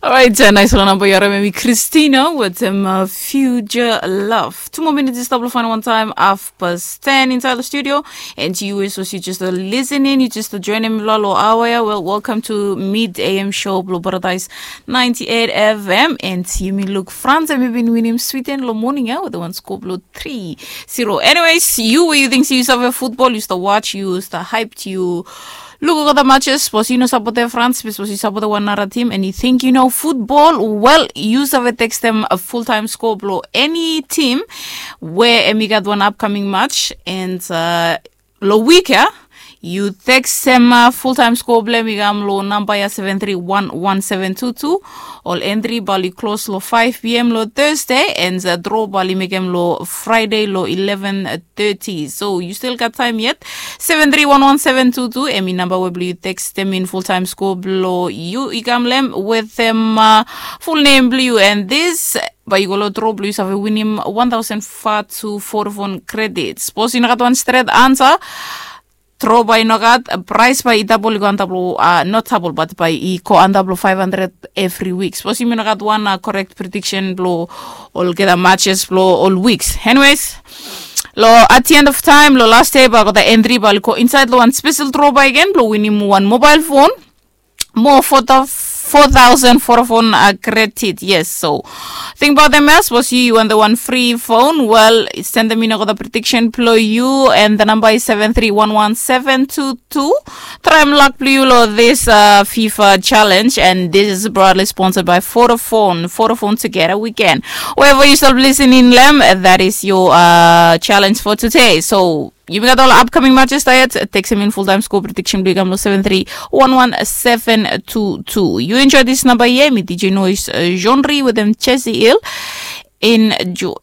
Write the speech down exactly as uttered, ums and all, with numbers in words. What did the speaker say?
Alright, nais long namba yu harim em i Christina wetem Future Love. Two more minutes i stap long fain wantaim half past ten inside the studio. And you is also just listening, you just joining me long awa ya. Well, welcome to Mid A M show blong Paradise ninety-eight F M. And yumi luk France, and we've been winning Sweden long morning ya with the one score blong three zero. Anyways, you, you think you save football, you start watch, you start hyped, you look at the matches, suppose you no support the France, suppose you support the one another team, and you think you know football well, you save text them a full time score blong any team where em i gat one upcoming match, and uh, long week ya, you text them uh, full time score blong em i kam long namba ya seven three one one seven two two. Ol entry bali close long five p m long Thursday, and uh, draw bali mekem long Friday long eleven thirty. So you still got time yet. Seven three one one seven two two. Em i namba we blong you text them in full time score blong you i kam long em with them uh, full name blong you, and this bae yu go long draw blong yu save winim one thousand five to Vodafone credit. Suppose you no gat one straight answer, draw bae no gat, price bae i double, i go antap long uh, not double, but bae i go antap long five hundred every week. Suppose yumi no gat one uh, correct prediction blong olgeta matches blong ol weeks. Anyways, lo at the end of time, lo last day bae go the entry bae go inside lo one special draw bae again blong winim one mobile phone, more for the four thousand for a phone uh, credit. Yes, so think about them as was you, you want the one free phone. Well, send them in the prediction below you, and the number is seven three one one seven two two. Try and luck blue lo this uh, FIFA challenge, and this is proudly sponsored by Vodafone. Vodafone, together we can. Wherever you stop listening, Lem, that is your uh, challenge for today. So you got all upcoming matches diet. Text them in full time score prediction blue gamlo seven three one one seven two two. You enjoy this number here. Me D J Noise uh, Genre with them Chessy Hill. Enjoy.